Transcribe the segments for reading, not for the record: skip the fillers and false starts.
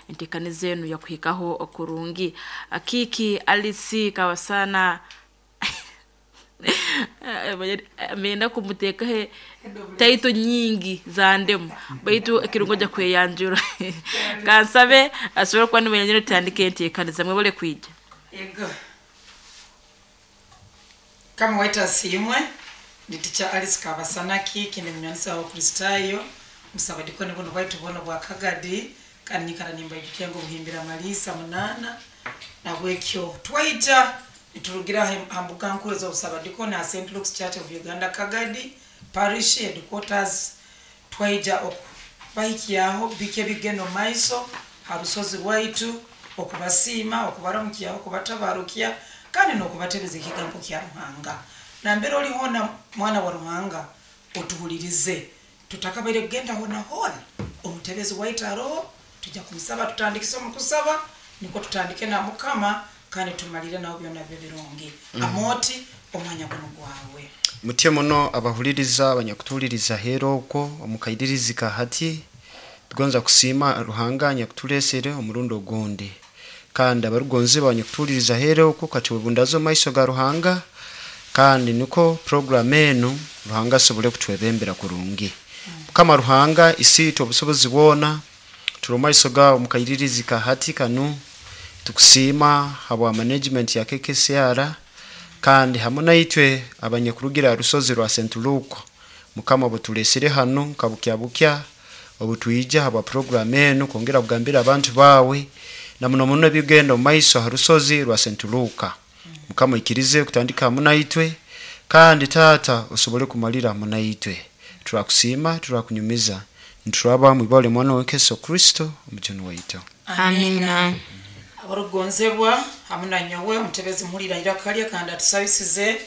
Entekaniza enu yakuhikaho kurungi. Kiki Alice Kawasana amenda kumuteekaho taito nyingi za ndemu, baitu ekirungo ojja kweyanjura. Kansabe asobole kuba niweyanjura, tutandike enteekaniza. Mwebale kwija. Yego. Kama waita asiimwe, ndi Teacher Alice Kabasanaki, kindi munywanisa wa Kristayo, musabadikoni buno bwaitu buno bwa Kagadi, kandi nyikara nimbaijukya ngu obuhimbira maliisa 8 nabwekyo twaija niturugira ha mbuga nkuru ez'obusabadikoni ha St. Luke's Church of Uganda Kagadi Parish headquarters. Twaija okubahikyaho biki ebigenda omu maiso ha rusozi rwaitu, okubasiima, okubaramukyaho, okubatabarukya kandi n'okubatebeza ekigambo kya Ruhanga. Nambere oli hoona, mwana wa Ruhanga, otuhulirize. Tutakabaire kugenda hoona hoona, omutebezi waitu aroho, tujja kumusaba tutandikise omu kusaba, nikwo tutandike na Mukama kandi tumalire nawe byona bibe birungi. Amooti, omwanya guno gwawe. Mutye muno abahuliriza abanyakutuhuliriza heera okwo omukairirizi ka hati. Tugonza kusiima Ruhanga anyakutuleesere omurundi ogundi, kandi abarugonzi abanyakutuhuliriza heera okwo, katwebundaze omu maiso ga Ruhanga, kandi nikwo puroguramu enu Ruhanga asobole kutwebembera kurungi. Mukama Ruhanga isiitwe obusobozi bwona, turi omu maiso gawe omukairirizi ka hati kanu, tukusiima habwa management ya KKCR kandi hamu naitwe abanyakurugira ha rusozi rwa St. Luke. Mukama obutuleesere hanu nka bukya bukya, obutwija habwa puroguramu enu kwongera kugambira abantu bawe na muno muno ebigenda omu maiso ha rusozi rwa St. Luke. Mukama oikirize kutandika hamu naitwe, kandi taata osobole kumalira hamu naitwe. Turakusiima, turakunyumiza, nituraba mwibale mwana wawe Yesu Kristo omujuni waitu. Amina. Abarukugonzebwa hamu na nyowe omutebezi muhulira iraka lye kandi atusabisize,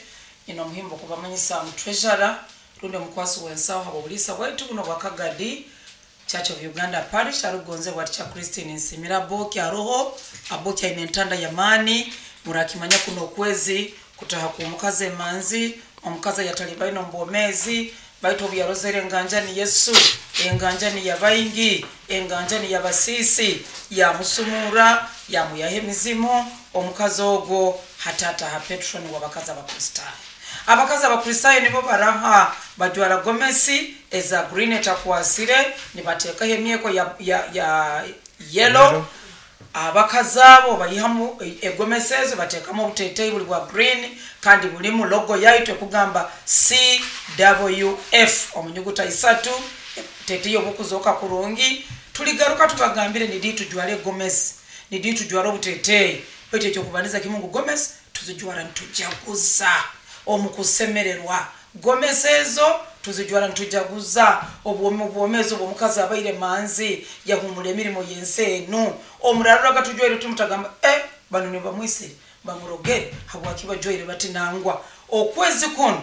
nyina omuhimbo okubamanyisa ngu treasurer rundi omukwasi w'ensaho habw'obuliisa bwaitu buno bwa Kagadi Church of Uganda Parish arukugonzebwa Teacher Christine Nsimira Aboki aroho. Aboki aine entanda y'amaani, murakimanya kuno okwezi kutaha kw'omukazi emanzi, omukazi ayatalibaine omu bwomeezi, baitu obu yarozere enganjani Yesu, enganjani y'abaingi, enganjani y'abasiisi, yamusumurra, yamwihaho emizimu. Omukazi ogwo hati ataha patron w'abakazi Abakristaayo. Abakazi Abakristaayo nibo baraha bajwara gomesi eza green etakwasire, nibateekaho emyeko ya yellow. Abakazi abo baihamu egomesi ezo, bateekamu obuteeteeyi buli bwa green kandi bulimu logo yaitu ekugamba CWF omu nyuguta 3, teteeyi obukuzooka kurungi. Tuligaruka tubagambire nidi tujwara egomesi, nidi tujwara obuteeteeyi, baitu ekyokubaniza kimu ngu gomesi tuzijwara nitujaguza omu kusemererwa. Gomesi ezo tuzijwara nitujaguza obwomeezi obw'omukazi abaire manzi, yahumura emirimo y'ensi enu. Omuraruraga tujwaire tumutagamba, banu nibamwisire bamurogere habwaki bajwaire bati nangwa. Okwezi kuno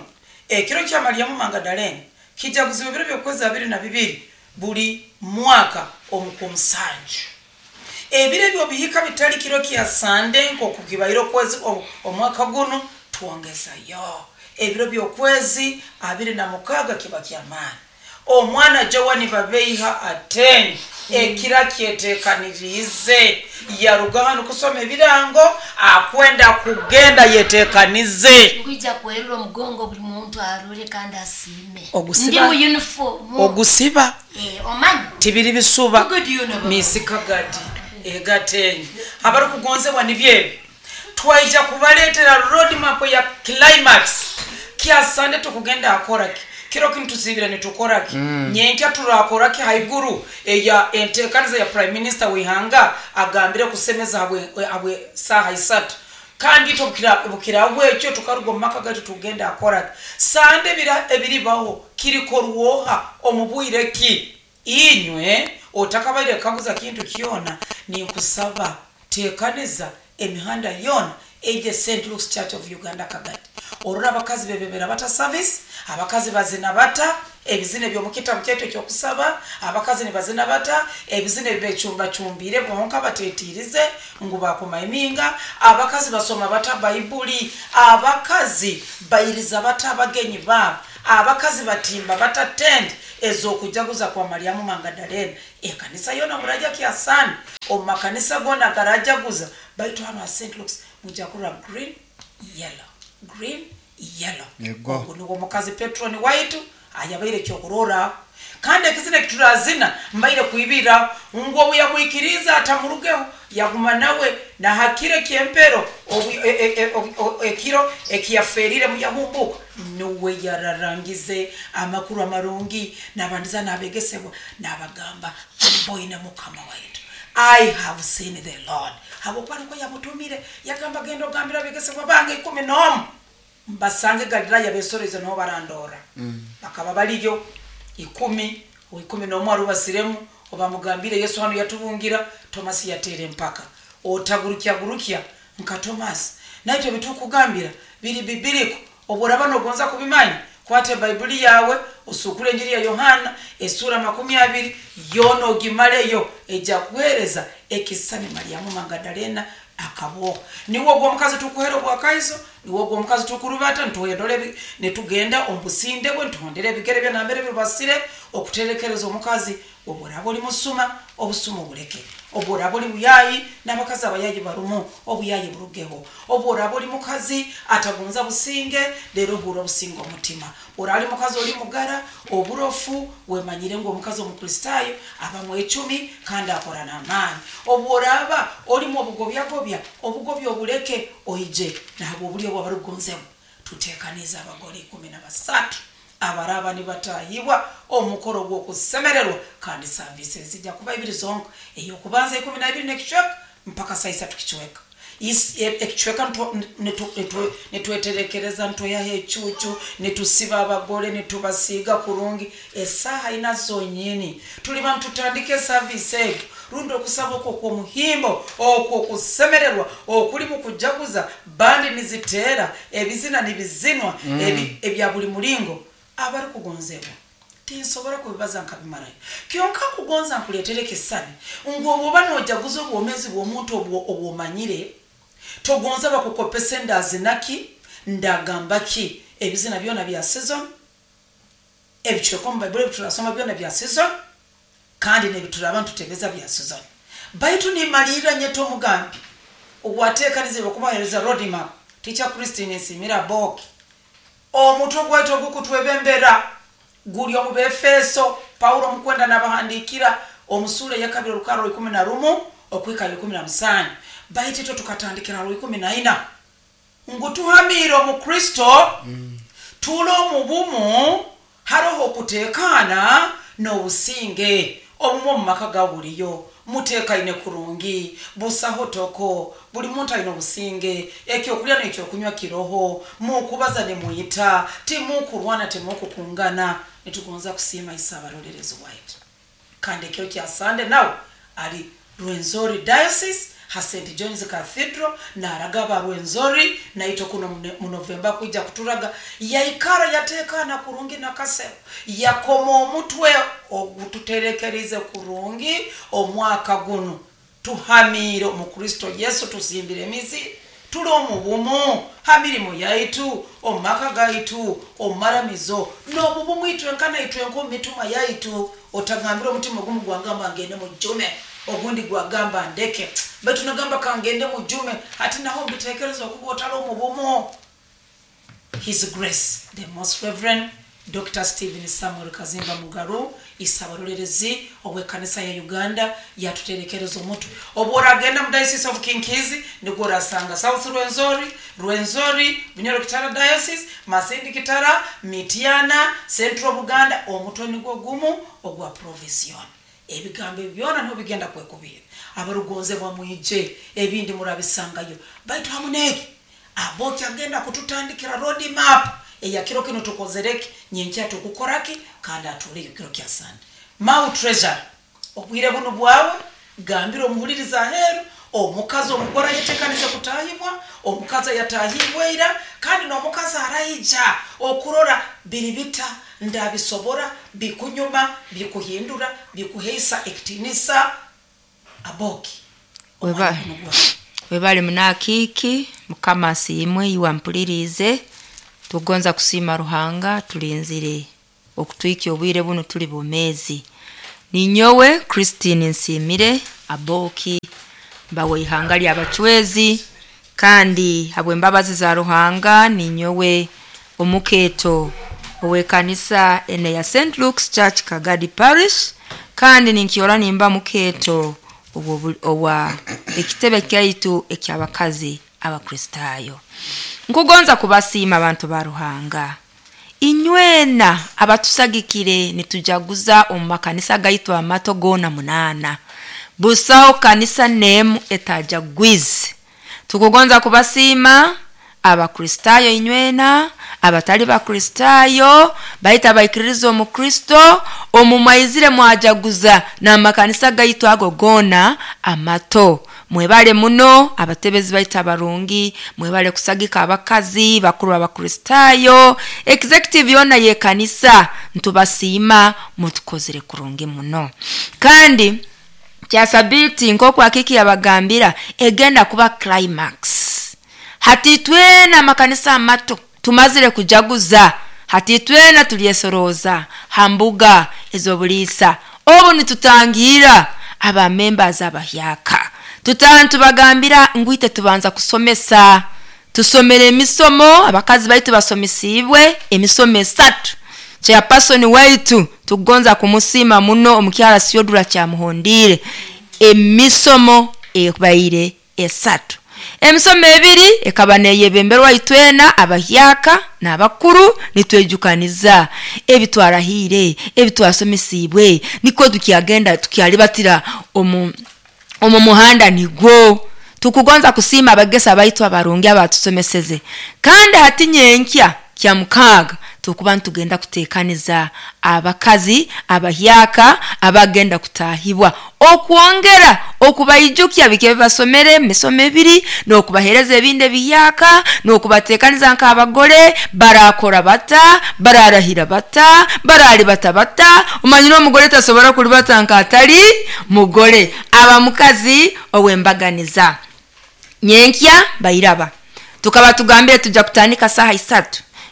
ekiro kya Mariamu Mangadalene kijaguzibwa ebiro by'okwezi 22 buli mwaka omu kwomusanju. Ebiro ebyo bihika bitali kiro kya Sande nk'oku kibaire okwezi omwaka guno, twongezayo ebiro by'okwezi 26 kiba ky'amaani. Omwana Joani Babeiha Ateni ekira kyetekaniriize, yaruga hanu kusoma ebirango, akwenda kugenda yetekanize. Nkwija kwerura omugongo buli muntu arore kandi asiime. Ogusiba. Ndi mu uniform. Ogusiba. Omanyi? Tibiri bisuba. Good uniform. Misi Kagadi egatenyi. Abarukugonzebwa nibyo ebi. Twaija kubaleetera road map ya climax. Kya Sande tukugenda akoraki? Kiro kinu tusibira nitukoraki? Nyenkya turakoraki haiguru eya entekaniza ya Prime Minister w'ihanga agambire kusemeza habwe saaha 3. Kandi itwe bukiraho ekyo tukaruga omu maka gaitu tugenda akoraki? Sande ebiribaho kirikorwoha omu bwire ki? Inywe otakabaire kaguza kintu kyona, ninkusaba tekaniza emihanda yona eje St. Luke's Church of Uganda Kagadi. Orora abakazi bebebera bata service, abakazi bazina bata ebizina eby'omukitabu kyaitu ekyokusaba, abakazi nibazina bata ebizina ebibecumbacumbire bonka batetirize ngu bakumaiminga, abakazi basoma bata Baibuli, abakazi bairiza bata abagenyi babo. Abakazi batimba bata tent ez'okujaguza kwa Mariamu Mangadalena. Ekanisa yona muraja kyasani omu makanisa gona garajaguza, baitu hano ha St. Luke's mujja kurora green yellow, green yellow. Yego. Ogu nigwo mukazi Petroni waitu ayabaire kyokurora. Kandi ekizina ekiturazina mbaire kwibira ngu obu yamwikiriza atamurugeho, yaguma nawe na hakiro kyempero ekiro ekiyaferire muyahumbuka, nuwe yararangize amakuru amarungi nabandiza nabegesebwa nabagamba, mboine mukama waitu, I have seen the Lord. Habwokuba niko yamutumire, yagamba genda ogambira abegesebwa bange 11 mbasange Galilaya besoreze niho barandora. Bakaba baliyo 10 11 arubasiremu obamugambire Yesu hano yatubungira. Tomasi yateera empaka, otagurukya gurukya nka Tomasi, naitwe bitukugambira biri bibiriko. Obworaba nogonza kubimanya, kwata Baibuli yawe osukule enjiri ya Yohana esura 20 yona ogimaleyo, ejja kuhereza ekisani Mariamu Magadalena akaboha. Niwo ogwo omukazi tukuhera obwakaiso, niwo ogwo omukazi tukurubata nituhondera nitugenda omu businde bwe, nituhondera ebigere bye nambere birubasire okuterekereza omukazi. Obworaba oli musuma, obusuma obuleke. Obworaba oli buyayi, n'abakazi abayayi barumu, obuyayi burugeho. Obworaba oli mukazi atagonza businge, rero ohurra obusinge omutima. Oraba oli mukazi oli mugara oburofu, wemanyire ngu omukazi omukristayo aba mwecumi kandi akora n'amaani. Obworaba olimu obugobyagobya, obugobya obuleke, oije nahabwa obulyo bwabarukugonzebwa. Tutekanize abagore 13 abaraba nibatahibwa omukoro gw'okusemererwa, kandi savisi ezijja kuba ibiri zonka, eyokubanza 12 n'ekicweka mpaka saa 3 kicweka. Ekicweka nitweterekereza, nitweyaho ecucu, nitusiba abagore, nitubasiiga kurungi. Esaaha ina zonyini tuliba nitutandika esavisi egyo, rundi okusaba okwo okw'omuhimbo okwo okusemererwa okulimu kujaguza, bandi niziteera, ebizina nibizinwa, ebya buli mulingo. Abarukugonzebwa tinsobora kubibaza nkabimarayo, kyonka nkugonza nkuleetera ekisani ngu obwoba nojaguza obwomezi bw'omuntu obwomanyire, togonza bakukopese ndazinaki ndagamba ki. Ebizina byona bya season, ebicweka omu Baibuli ebiturasoma byona bya season, kandi nebituraba ntutebeza bya season. Baitu nimalirra nyeta omugambi ogwateekanize okubahereza roadmap, Teacher Christine Nsimira Boki. Omutwe gwaitu ogukutwebembera guli omu Befeso, Paulo omukwenda nabahandikira omusura eyakabiri orukaro 11 okwika 17. Baitu itwe tukatandikira 14 ngu tuhamire omu Kristo, tuli omu bumu, haroho okutekana n'obusinge. Obumu omu maka ga buliyo mutekaine kurungi, busaho toko, buli muntu aine obusinge, ekyokulya n'ekyokunywa kiroho, mukubaza nimuyita, timukurwana, timukukungana. Nitugonza kusiima isa abarolerezi waitu. Kandi ekiro kya Sande nawe ali Rwenzori Diocese ha St. John's Cathedral naraga aba Rwenzori, naitwe kuno mu Novemba kwija kuturaga. Yaikara yatekana kurungi nakasero, yakoma omutwe ogututerekerize kurungi omwaka gunu. Tuhamire omu Kristo Yesu, tusimbire emizi, tuli omu bumu ha mirimo yaitu, omu maka gaitu, omu maramizo, n'omu bumu itwenka naitwenka omu mituma yaitu. Otagambira omutima ogumu gwagamba ngende mujume, ogundi gwagamba ndeke, baitu nagamba kangende mujume, hati naho mbitekereza okuba otali omu bumu. His Grace the Most Reverend Dr. Stephen Samuel Kazimba Mugaru, isabarolerezi obw'ekanisa ya Uganda, yatuterekereza omutwe. Obworagenda mu Diocese of Kinkizi nigwo orasanga South Rwenzori, Rwenzori, Bunyoro Kitara Diocese, Masindi Kitara, Mityana, Central Buganda, omutwe nigwo gumu ogwa provision. Ebigambo ebi byona niho bigenda kwekubira. Abarugonzebwa mwije, ebindi murabisangayo. Baitu hamu n'eki, Aboki agenda kututandikira road map eya kiro kino tukozereki, nyenkya tukukoraki, kandi atuleyo kiro kya Sande. Mau Treasury, obwire bunu bwawe, gambira omuhuliriza aheeru, omukazi omugore ayetekanize kutahibwa, omukazi ayatahibwe ira, kandi n'omukazi araija okurora biri bita, ndabisobora, bikunyuma, bikuhindura, bikuheisa ekitinisa. Aboki, omwanya guno gwawe. Webale munakiiki, Mukama asiimwe iwe ampuliriize. Tugonza kusiima Ruhanga tulinzire okutwikya obwire buno tuli bomezi. Ninyowe Christine Nsimire Aboki mbawe ihanga ly'abachwezi, kandi habw'embabazi za Ruhanga ninyowe omukeeto ow'ekanisa ene ya St. Luke's Church Kagadi Parish, kandi ninkiora nimba mukeeto owa ekitebe kyaitu eky'abakazi Abakristaayo. Nkugonza kubasiima abantu ba Ruhanga inywena abatusagikire nitujaguza omu makanisa gaitu amato goona 8. Busaho kanisa nemu etajagwize. Tukugonza kubasiima Abakristaayo inywena abatali Bakristaayo baita baikiririza omu Kristo omumaizire mwajaguza n'amakanisa gaitu ago goona amato. Mwebale muno abatebezi baita abarungi, mwebale kusagika abakazi bakuru Abakristaayo, executive yona y'ekanisa ntubasiima mutukozere kurungi muno. Kandi kya sabiti nk'oku akiki yabagambira egenda kuba climax. Hati twena amakanisa amato tumazire kujaguza, hati twena tulyesoroza hambuga ez'obuliisa obu nitutangira aba members abahyaka. Tutantubagambira ngwite tubanza kusomesa, tusomere emisomo abakazi baitu basomesibwe emisomo 3. Chairperson waitu tugonza kumusima muno omukyala Siodura kyamuhondire emisomo ebaire 3. Emisomo 2 ekaba neyebemberwa itwena abahyaka n'abakuru nitwejukaniza ebitwarahire ebitwasomesibwe niko tukyagenda tukyalibatira omu muhanda nigwo. Tukugonza kusiima abagesa baitu abarungi abatusomeseze. Kandi hati nyenkya kya 6 tukuba ntugenda kutekaniza abakazi abahyaka abagenda kutahibwa okwongera okubaijukya bike basomere misomo 2 n'okubahereza ebindi ebihyaka n'okubatekaniza nk'abagore barakora bata bararahira bata baralibata bata. Omanyire omugore tasobora kulibata nk'atali mugore aba mukazi owembaganiza. Nyenkya bairaba tukaba tugambire tujja kutandika saha 3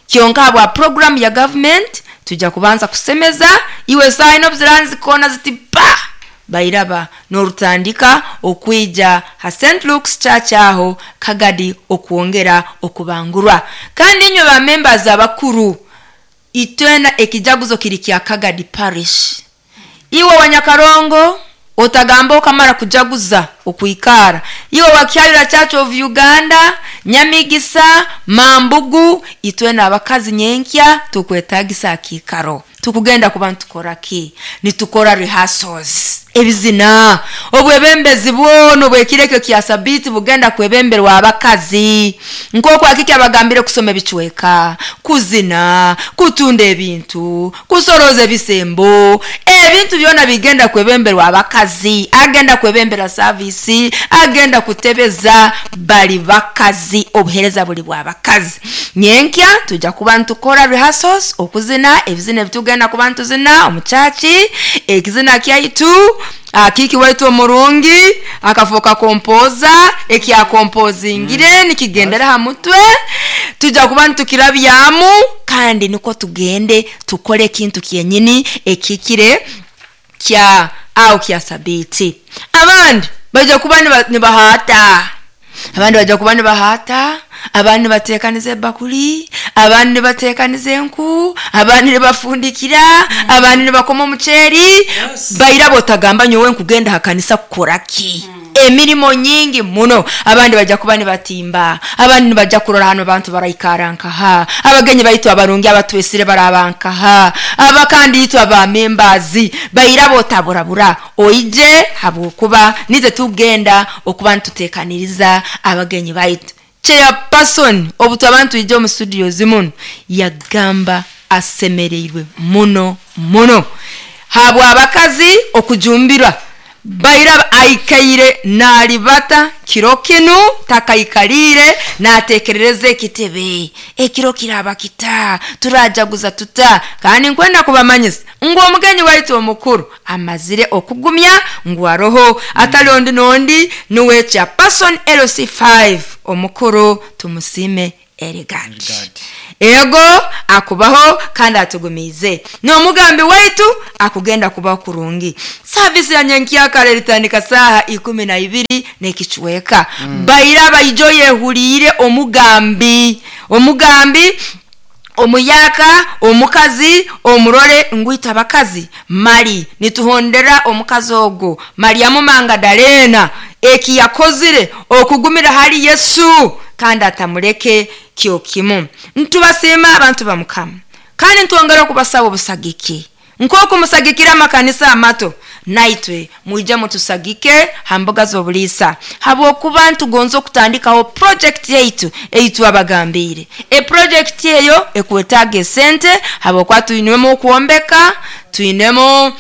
kyonka bwa program ya government tujja kubanza kusemeza iwe saha ino ziranzi kona ziti pa bairaba n'orutandika okwija ha St. Luke's Church aho Kagadi okwongera okubangurwa. Kandi inywe ba members abakuru itwena ekijaguzo kiri kya Kagadi Parish. Iwe wanyakarongo otagamba okamara kujaguza okuikara. Iwe wakyalira Church of Uganda, Nyamigisa, Mambugu, itwena abakazi nyenkya tukwetagisa akikaro. Tukugenda kuba ntukora ki? Nitukora rehearsals. Ebizina obwebembezi bwono bwekireke kya sabiti bugenda kwebemberwa abakazi. Nk'oku akiki abagambire kusoma ebichweka, kuzina, kutunda ebintu, kusoroza ebisembo, ebintu byona bigenda kwebemberwa abakazi. Agenda kwebembera service, agenda kutebeza bali bakazi, obuhereza buli bwa bakazi. Nyenkya tujja kuba ntukora rehearsals okuzina ebizina ebitugenda kuba ntuzina omuchachi, ekizina kyaitu akiki waitu omurungi akafoka kompoza ekya kompozingire nikigendera ha mutwe tujja kuba ntukirabyamu. Kandi niko tugende tukole ekintu kyenyini ekikire kya au kya sabiti. Abandi bajja kuba nibahata, abandi bajja kuba nibahata, abandi batekanize bakuli, abandi batekanize enku, abandi nibafundikira, abandi nibakoma omuceeri. Baira botagamba nyowe nkugenda hakanisa kukoraki. Emirimo nyingi muno. Abandi bajja kuba nibatimba, abandi nibajja kurora hano abantu baraikarankaha, abagenyi baitu abarungi abatwesire barabankaha, abakandi yitwa ba members baira botaburabura oije habwokuba nize tugenda okuba ntutekaniriza abagenyi baitu. Chairperson obutu abantu ije mu studio zimuno yagamba asemereirwe muno muno habwa abakazi okujumbirwa. Baira aikaire nalibata kiro kinu takaikalire natekerereze ekitebe ekiro kiraba kita turajaguza tuta. Kandi nkwenda kubamanyisa ngo omugenyi waitu omukuru amazire okugumya ngu aroho atali ondi nondi nuwe chairperson LC5 omukuru tumusime Elegant. Ego akubaho kandi atugumiize n'omugambi waitu akugenda kuba kurungi. Savisi ya nyenkyakara eritandika saaha 12 n'ekicweka. Baira baijo yehuliire omugambi omuyaka omukazi omurole ngwita abakazi mali nituhondera omukazi ogwo Mariamu Mangadalena eki yakozire okugumira hali Yesu kandi atamuleke kyo kimu. Ntubasiima abantu ba Mukama kandi ntwongera okubasaba obusagiki nk'oku musagikira amakanisa amato, naitwe mwije mutusagike ha mbuga z'obuliisa, habwokuba ntugonza okutandikaho project yaitu eitwabagambiire. Eproject eyo ekwetaaga esente, habwokuba twinemu okwombeka, twinemu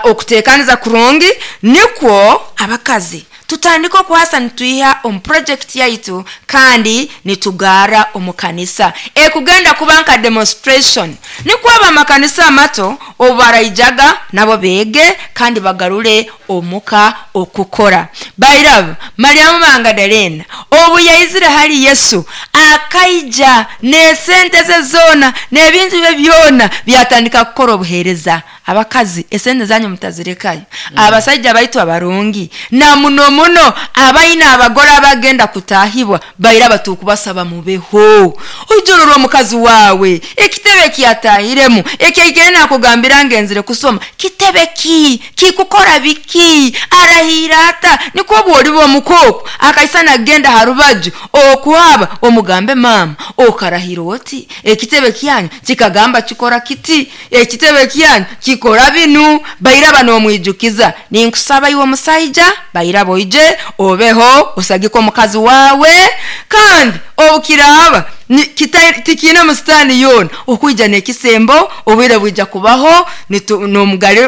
okuteekaniza kurungi, nikwo abakazi tutandike okuhasa nitwiha omu project yaitu kandi nitugara omu kanisa ekugenda kuba nka demonstration, nikwo abamakanisa amato obu baraijaga nabo beege kandi bagarure omuka okukora. Bairaba Mariamu Mangadalena obu yaizire hali Yesu akaija n'esente ze zoona n'ebintu bye byona byatandika kukora obuheereza. Abakazi esente zanyu mutazirekayo. Abasaija baitu abarungi na muno muno abaina abagore abagenda kutahibwa baira batukubasaba mubeho. Ojorora omukazi wawe ekitebe kyatahiremu ekyaigere nakugambira ngenzire kusoma kitebe ki kikukora biki arahira ata, nikwo bwoliba omukoko akaisana agenda harubaju okuhaba omugambe mama okarahira oti ekitebe kyanyu kikagamba kikora kiti, ekitebe kyanyu kikora binu. Baira banomwijukiza ninkusaba iwe omusaija baira boije obeho osagike omukazi wawe, kandi obukiraba tikina musitani yona okuija n'ekisembo obwire bwija kubaho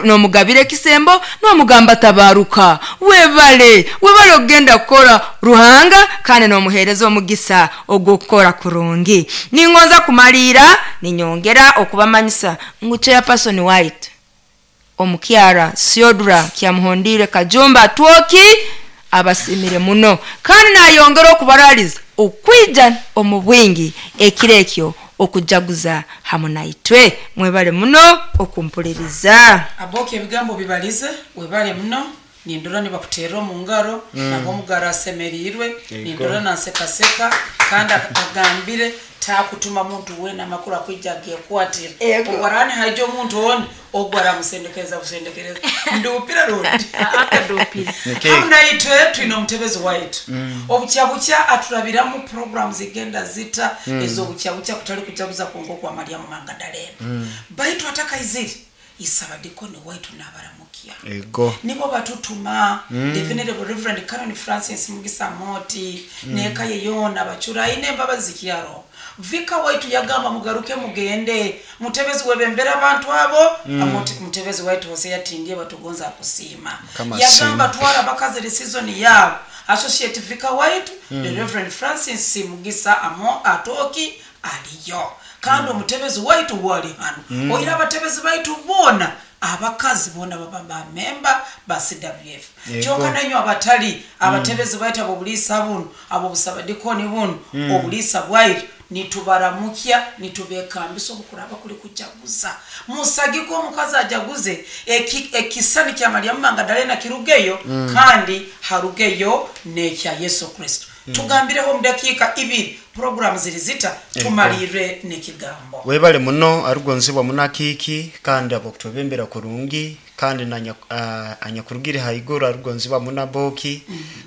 n'omugabire ekisembo n'omugamba tabaruka webale webale okugenda kukora Ruhanga kandi n'omuheereza omugisa ogw'okukora kurungi. Ningonza kumaliira ninyongera okubamanyisa ngu chairperson waitu omukyara Siodra Kyamuhondire Kajumba Twoki abasimire muno kandi nayongera okubaraliza okwija omu bwingi ekiro ekyo okujaguza hamu naitwe. Mwebale muno okumpuliriza. Aboki ebigambo bibalize webale muno, nindora nibakuterera omu ngaro nabo omugaro asemerirwe, nindora nansekaseka kandi agambire takutuma muntu wena amakuru akwija agekwatira ogwarani haija omuntu oni ogwo aramusendekereza busendekereza ndupira rundi akadupira. Hamu naitwe twine omutebezi waitu obukyabukya aturabiramu program zigenda zita ez'obukyabukya kutali kujaguza kwonka okwa Mariamu Mangadalena, baitu atakaizire isabadikoni waitu nabaramukya ego nibo batutuma the venerable Reverend Canon Francis Mugisa Moti neka ye yona bachura ine embabazi kyaro vika waitu yagamba mugaruke mugende mutebezi webembera abantu abo. Mutebezi waitu Hosea Tindie batugonza kusiima Kama yagamba twara bakazi season yabo associate vika waitu the Reverend Francis Mugisa amo atoki aliyo kandi omutebezi waitu wali hano oira abatebezi baitu bona abakazi bona baba bamemba ba CWF kyonka nanyo abatali abatebezi baitu abo buliisa buno abo busabadikoni buno obuliisa bwaitu nitubaramukya nitubekambisa obukuraba kuli kujaguza musagiko omukazi ajaguze ekisani kya Mariamu Mangadalena kirugeyo kandi harugeyo n'ekya Yesu Kristo. Tugambireho mu dakiika 2 program ziri zita tumalire n'ekigambo. Webale muno arugonzibwa munakiki kandi abokutubembera kurungi kandi anyakurugire haiguru arugonzibwa munaboki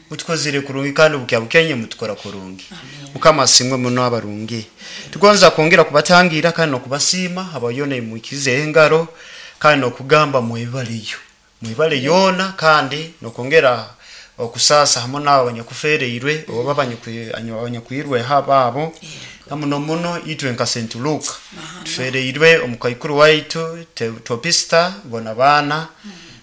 mutukozire kurungi kandi bukyabukenye mutukora kurungi. Mukama asimwe muno abarungi. Tugonza kwongera kubatangira kandi nokubasiima abayona imwikize engaro kandi nokugamba mwebaleyo mwebale yona kandi nokongera okusasa hamwe nabo abanyakufereirwe oba abanyakwirwe hababo muno muno itwe nka St. Luke tufereirwe omukaikuru waitu topista bona bana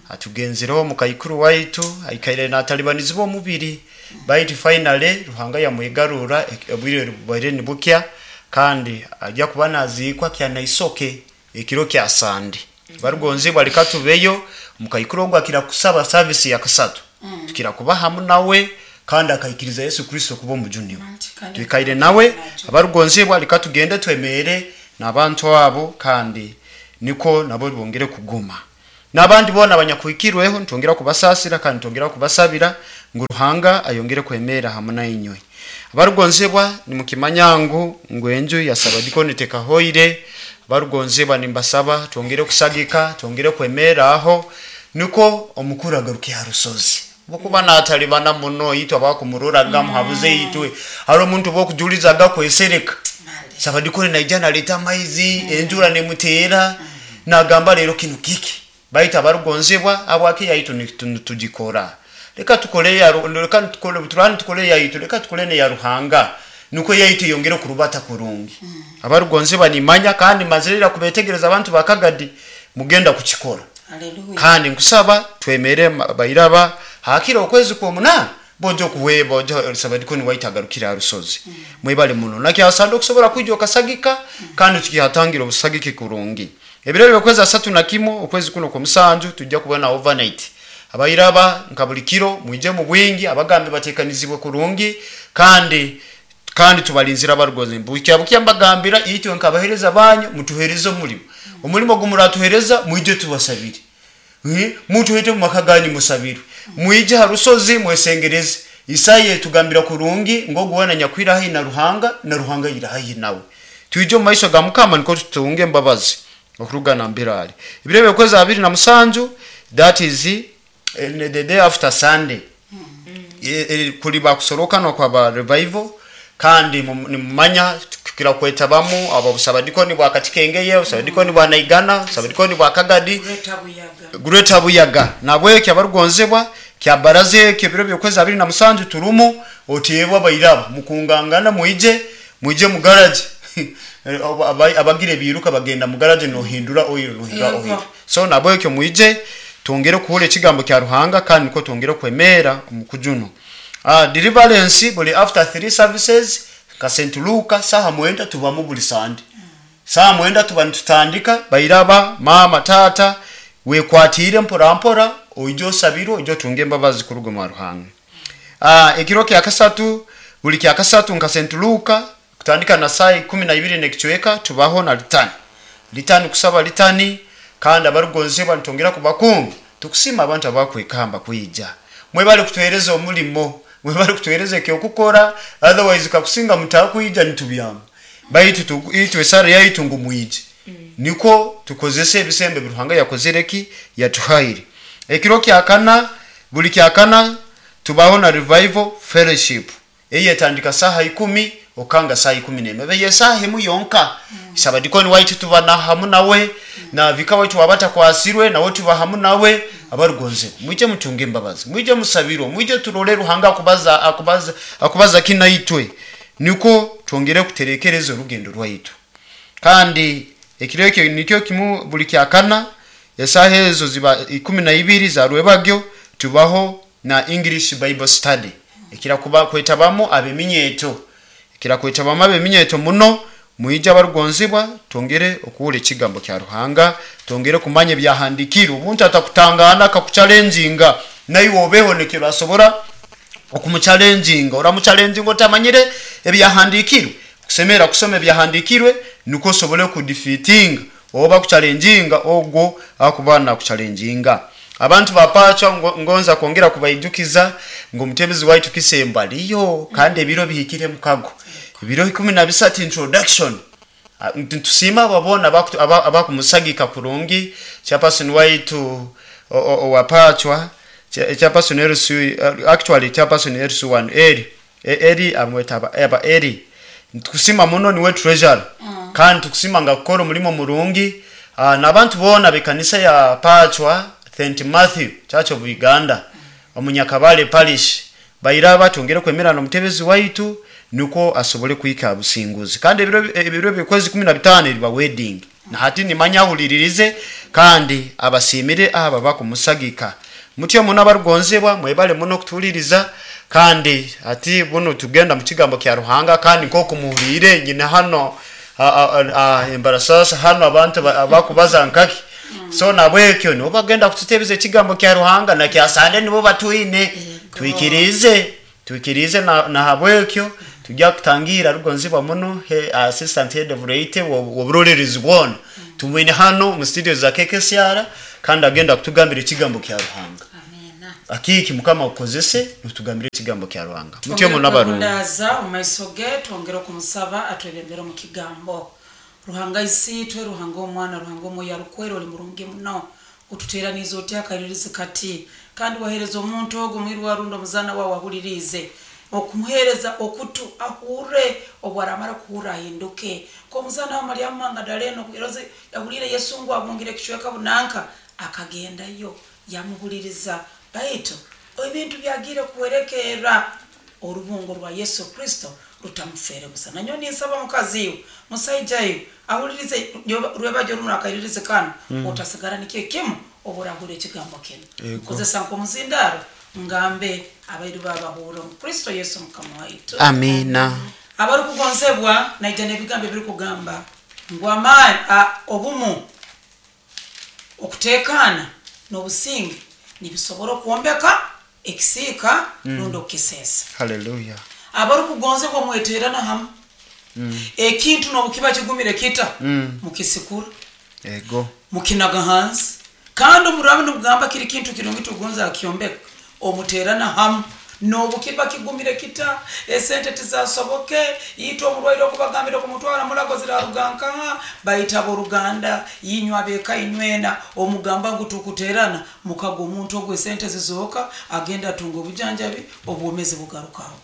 atugenzireho omukaikuru waitu aikaire natalibanizibwa omubiri baitu finally Ruhanga yamwegarura obwire bwaire nibukya kandi ajya kuba naziikwa kyanaisoke ekiro kya Sande. Barugonzi balikatubeyo omukaikuru ogwo akira kusaba service ya kasatu tukira kuba hamu nawe Kandi akaikiriza Yesu Kristo kuba omujuni we. Kandi Twikaire nawe abarugonzibwa, leka tugende twemere n'abantu abo, kandi niko nabo bongere kuguma n'abandi bona abanyakuhikirweho. Ntongera kubasasira kandi ntongera kubasabira ngu Ruhanga ayongere kwemera hamwe na inywe. Abarugonzibwa, nimukimanya ngu enju ya sabadikoni tekahoire. Abarugonzibwa, nimbasaba twongere kusagika, twongere kwemera aho, niko omukuru agaruke ha rusozi bokuba natalibana muno itwe abakumururaga muhabuze itwe. Hari omuntu bokujulizaga kwesereka sabadikoni naija naleta amaizi, enjura nemuteera, nagamba rero kino kiki. Baitu abarugonzibwa, abwaki yaitu tugikora? Leka tukole ya leka tukole turani, tukole yaitu, leka tukole ne ya Ruhanga, nuko yaitu yongere kurubata kurungi. Abarugonzibwa, nimanya kandi mazirira kubetegereza abantu bakagadi mugenda kukikora. Haleluya. Kandi nkusaba twemere bairaba hakira okwezi kwomunana bojo kuweba ojo sabadikoni waitagarukira rusozi. Mwebale muno nakyasanda okusobola kwijja okasagika, kandi tukihatangira obusagiki kurungi. Ebiro byokwezi 31 okwezi kuno kwomusanju tujja kubona overnight. Abairaba nka buli kiro mwije mu bwingi, abagambi batekanizibwe kurungi, kandi tubalinzira abarugozi bukya bukya. Mbagambira itwe nkabahereza banyu, mutuhereze omulimo gumuratuhereza, mwije tubasabire. Mutuhete mu maka ganyu musabirwe, mwije ha rusozi mwesengereze. Isaya etugambira kurungi ngo guwana nyakwira hayi na Ruhanga, na Ruhanga yira hayi nawe. Twije mu maiso ga Mukama niko tutunge embabazi okurugana mbirali. Ebiro byokwezi 27, that is the day after Sunday, kuliba kusorokana kwa ba revival. Kandi nimumanya kira kwetabamu abo busabadikoni bwa Katikengeye, busabadikoni bwa Naigana, busabadikoni bwa Kagadi, Greater Buyaga. Greater Buyaga. Nabwekyo abarugonzebwa kya baraze ekyo ebiro byokwezi 27 turumu oteebwa bairaba mukungangana, mwije mu garage. Abagira ebiruka bagenda mu garage, nohindura oil, nohindura oil. So nabwekyo mwije twongere kuhura ekigambo kya Ruhanga, kandi niko twongere kwemera omukujuno. Deliverance buli after 3 services ka St. Luka saha 9 tubamu buli Sunday. Saha 9 tuba nitutandika. Bairaba, mama, tata, wekwatire mpora mpora, oije osabirwe, oije otunge embabazi kuruga mu Ruhanga. Ekiro kya kasatu, buli kya kasatu nka St. Luka kutandika na saa 12 n'ekicweka tubaho na litani, litani kusaba litani. Kandi abarugonzebwa nitongera kubakunga tukusima abantu abakwekamba kwija. Mwebale kutuhereza omulimo, mwebale kutuhereza ekyokukora, otherwise kakusinga mutakwija nitubyama. Baitu itwe esara yaitu ngu mwije, niko tukozese ebisembe Ruhanga yakozereki yatuhaire. Ekiro kya kana, buli kya kana tubaho na revival fellowship eye etandika saha 10 okanga saha 11, beye saha emu yonka. Sabadikoni waitu tuba na hamu nawe, na vika waitu wabata kwasirwe nawe tuba hamu nawe. Abarugonze mwije mutunge embabazi, mwije musabirwe, mwije turole Ruhanga akubaza akubaza akubaza kina itwe, niko twongere kuterekereza orugendo rwaitu. Kandi ekiro ekyo nikyo kimu buli kya kana esaha ezo ziba 12 za rwebagyo tubaho na English Bible study ekira kuba kwetabamu abeminyeto, ekira kwetabamu abeminyeto muno. Mwije abarugonzibwa twongere okuwula ekigambo kya Ruhanga, twongere kumanya ebyahandikirwe. Omuntu atakutangana akakuchallenginga, naiwe obeho nekyo asobora okumuchallenginga. Oramuchallenginga otamanyire ebyahandikirwe. Kusemera kusoma ebyahandikirwe niko osobole kudefeatinga oba kuchallenginga ogwo akuba nakuchallenginga. Abantu bapacha ngonza kwongera kubaijukiza ngo omutebezi waitu Kisembo aliyo, kandi ebiro bihikire mukago, ebiro 13 introduction. Ntusima babona abakumusagika kurungi. Chairperson waitu owapachwa, chairperson LC, actually chairperson LC1 eri eri amweta aba eri, tukusima muno, niwe treasurer. Kandi tukusima nga kukora omulimo murungi. N'abantu bona bekanisa ya Pachwa St Matthew Church of Uganda omunyakabale parish, bairaba twongere kwemera n'omutebezi waitu niko asobole kuhika businguzi. Kandi ebiro by'okwezi 15 eriba wedding, na hati nimanya ahuliririze kandi abasimire aba bakumusagika mutyo muno. Abarugonzebwa, mwebale muno kutuliriza, kandi ati buno tugenda mu kigambo kya Ruhanga. Kandi nk'okumuhurire nyina hano embarasasa hano abantu abakubaza nkaki. So nabwekyo nibo bagenda kututebeza ekigambo kya Ruhanga, na kyasande nibo batwine twikirize. Twikirize nahabwekyo tujya kutangira rugonzibwa muno he assistant head of rate woburorerezi bwona tumwine hano mu studio za KKCR, kandi agenda kutugambira ekigambo kya Ruhanga. Amina. Akiki mukama ukozese nutugambire ekigambo kya Ruhanga mutyo muno abarungi. Ndaza omu maiso ge, twongere okumusaba atwebembere omu kigambo. Ruhanga isiitwe, Ruhanga omwana, Ruhanga omwoyo arukwera, oli murungi muno, otuteraniize otya akairirizi kati, kandi wahereza omuntu ogu mwirwa rundi omuzaana wawe ahuririize okumuhereza okutu ahurre, obu aramara kuhurra ahinduke komuzaana wa Mariamu Mangadalena okuroze yahurire Yesu ngu abungire ekicweka bunanka, akagendayo yamuhuliriza, baitu ebintu byagiire kuwerekerra orubungo rwa Yesu Kristo rutamufere busa. Nanyo ninsaba mukazi iwe, musaija iwe ahulirize rwebajo runo akairirize kano, otasigara nikyo kimu oburahura ekigambo kinu. Ego. Kozesa nk'omuzindaro ngambe abairu babahura omu Kristo Yesu mukama waitu. Amina. Abarikugonzebwa, naija n'ebigambo ebirikugamba ngu amaani obumu, okuteekaana n'obusinge nibisobora okwombeka ekisiika rundi okukiseesa. Haleluya. Abarikugonzebwa, mweterana hamu, ekintu n'obu kiba kigumire kita, mukisikura, ego mukinaga hansi, kandi omurabe nimugamba kiri kintu kirungi tugonza akyombeka, omuterana hamu n'obu kiba kigumire kita, esente tizasoboke, itwe omurwaire okubagambira okumutwara mulago ziraruga nkaha, baita abooruganda inywe abeeka inywena omugamba ngu tukuterana, mukaga omuntu ogwo esente zizooka, agenda atunga obujanjabi, obwomezi bugarukaho.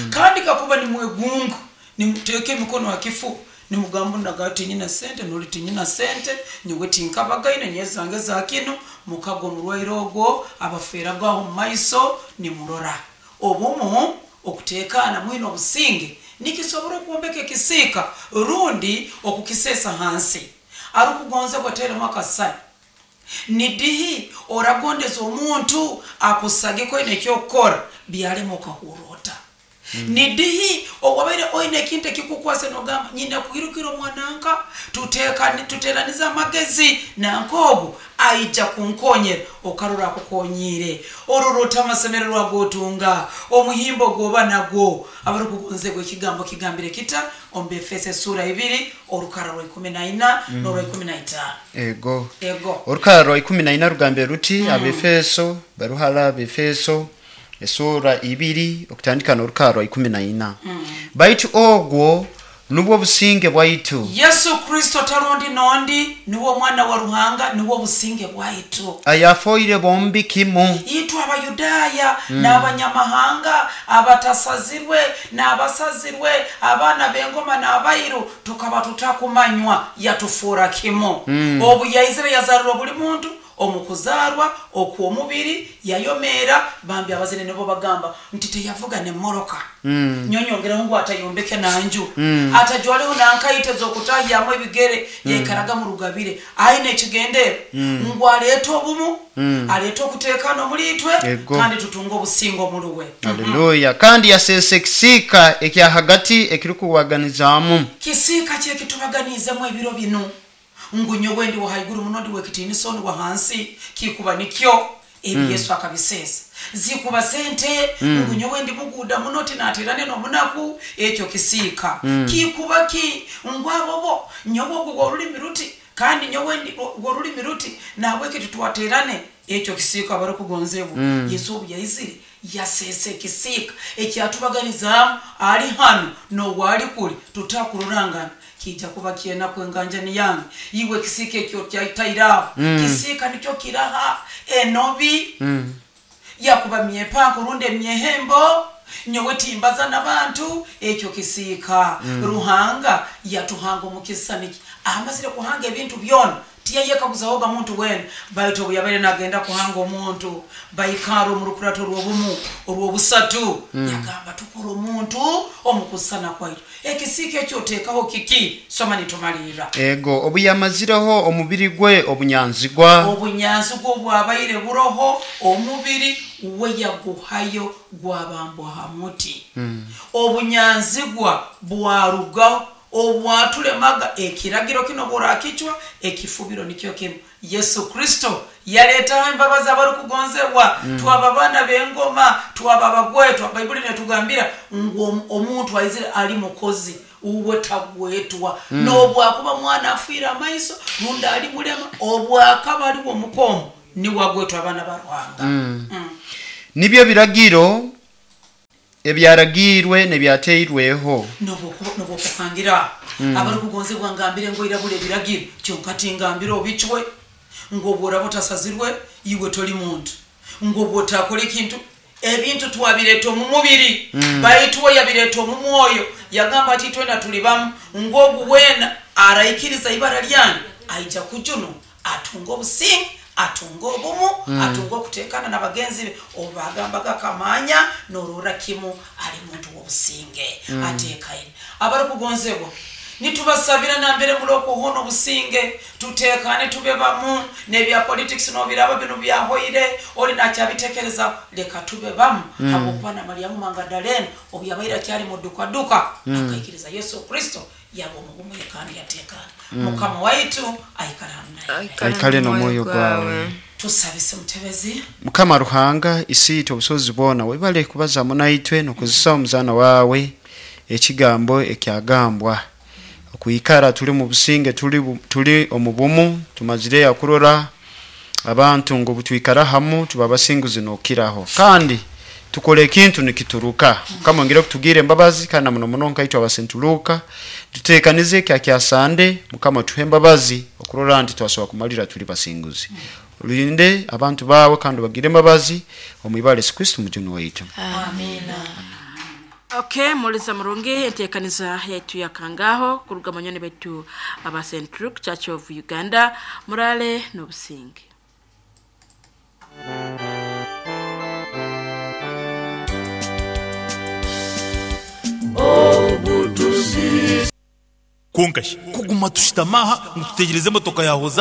Kandi kakuba nimwegunga, nimuteeka emikono ha kifu, nimugamba naga tinyina sente, noli tinyina sente, nyowe tinkabagaine nyezange za kinu, mukaga omurwaire ogwo abafeeragaho omu maiso nimurora. Obumu, okuteekaana mwine obusinge nikisobora okwombeka ekisiika rundi okukiseesa hansi. Arukugonzebwa, teremu akasani, nidihi oragondeza omuntu akusagiko oine ekyokukora byalema okahurra ota? Nidihi owabaire oine ekintu ekikukwase nogamba nyine kwirukira omwananka, tuteranize amagezi nanka ogu aija kunkonyera, okarora akukonyiire, orora ota amasemererwa gotunga, omuhimbo gwoba nagwo? Abarikugonzebwa, ekigambo kigambire kita omu Befeso esura 2 orukara rwa 14 n'orwa 15? Ego. Ego. Orukara rwa 14 rugambire ruti, Abefeso, baruhara Abefeso esura 2 okutandika n'orukara rwa 14: baitu ogwo nubwo businge bwaitu. Yesu Kristo tarundi nondi, niwe omwana wa Ruhanga, niwe obusinge bwaitu. Ayafoire bombi kimu. Itwe abayudaaya n'abanyamahanga, abatasazirwe n'abasazirwe, abaana b'engoma n'abairu, tukaba tutakumanywa, yatufuura kimu. Obu yaizire yazarurwa buli muntu omu kuzaarwa okw'omubiri, yayomeera bambi abazire nibo bagamba nti teyavuga nemoroka, nyonyongeraho ngu atayombeke nanju, atajwaleho nankaito ez'okutahyamu ebigere, yaikaraga mu rugabire aine ekigendero ngu aleete obumu, aleete okuteekana omuli itwe, Ego. kandi tutunge obusinge omuluwe. Haleluya. Kandi yaseesa ekisiika ekya hagati ekirikuwaganizaamu. Kisiika kyekitubaganiizemu ebiro binu, ngu nyowe ndi wa haiguru muno, ndi wekitiinisa, oni wa hansi, kikuba nikyo ebi Yesu akabiseesa. Zikuba sente, ngu nyowe ndi muguuda muno, tinaterane n'omunaku, ekyo kisiika. Kikuba ki ngu abobo nyowe ogwo gworulimi ruti, kandi nyowe ndi gworulimi ruti, nahabweki titwaterane, ekyo kisiika. Abarikugonzebwa, Yesu obu yaizire yaseesa ekisiika ekyatubaganizaamu, ali hanu n'owali kuli tutakurorangana, kijja kuba kyenaku enganjani yange iwe ekisiika ekyo kyatairaho. Kisiika nikyo kiraha enobi, yakuba myepanko rundi emyehembo, nyowe timbaza n'abantu, ekyo kisiika. Ruhanga yatuhanga omu kisisani, amazire kuhanga ebintu byona tiyayekaguzahoga muntu wena, baitu obu yabaire nagenda kuhanga omuntu, baikara omu rukurato rw'obumu orw'obusatu, yagamba tukora omuntu omu kusisana kwaitu. Ekisiika ekyo oteekaho kiki? Soma nitumalirra. Ego, obu yamazireho omubiri gwe obunyanzigwa. Obunyanzigwa obwabaire buroho, omubiri we yaguhayo gwabambwa ha muti, obunyanzigwa bwarugaho obwatulemaga. Ekiragiro kino bworakicwa, ekifubiro nikyo kimu. Yesu Kristo. Yaleetaho embabazi abarukugonzebwa. Twaba baana b'engoma, twaba abagwetwa. Baibuli netugambira ngu omuntu aizire ali mukozi uwe tagwetwa, n'obwakuba mwana afiire amaiso rundi ali mulema, obwakaba aliwo omukomo niwe agwetwa abaana ba Ruhanga. Nibyo biragiro ebyaragiirwe n'ebyateirweho. Nobwokuhangira abarikugonzebwa, ngambire ngu oirabura ebiragiro kyonka tingambire obicwe, ngu obworaba otasazirwe iwe toli muntu, ngu obwotakora ekintu. Ebintu twabireeta omu mubiri, baitu we yabireeta omu mwoyo. Yagamba ati itwena tuli bamu, ngu ogu weena araikiriza ibara lyange aija kujunwa, atunga obusinge, atunga obumu, atunga okuteekana n'abagenzi be. Obu bagambaga akamanya norora kimu ali muntu w'obusinge, ateekaine. Abarikugonzebwa, nitubasabira nambere muri okuhona obusinge, tuteekane, tube bamu. N'ebya politics nobiraba binu byahoire, oli nakyabitekereza. Leka tube bamu, habwokuba na Mariamu Mangadalene obu yabaire akyali mudukaduka akaikiriza Yesu Kristo, yaba omu bumwe kandi yateekana. Mukama waitu aikara hamu naye. Aikale n'omwoyo gwawe. Tusabise mutebezi. Mukama Ruhanga isiitwe obusobozi bwona, webale kubazamu naitwe n'okozesa omuzaana wawe ekigambo ekyagambwa okwikara tuli mu businge, tuli omu bumu. Tumazire akurora abantu ngu butwikara hamu tuba basinguzi n'okiraho, kandi tukora ekintu nikituruka. Mukama ongere kutugira embabazi, kandi na muno muno nkaitwe abasentuluka tutekanize ekya kyasande. Mukama tuhe embabazi okurora nti twasobola kumalira tuli basinguzi. Olinde abantu bawe kandi bagire embabazi omu ibara Yesu Kristo mujuni waitu. Amina. Okay, muliza murungi, enteekaniza yaitu yakangaho kuruga manyoni baitu aba St. Luke Church of Uganda. Murale n'obusinge. Kwonka shi kuguma tushutami aha ngu tutegyereze emotoka ya Hozana?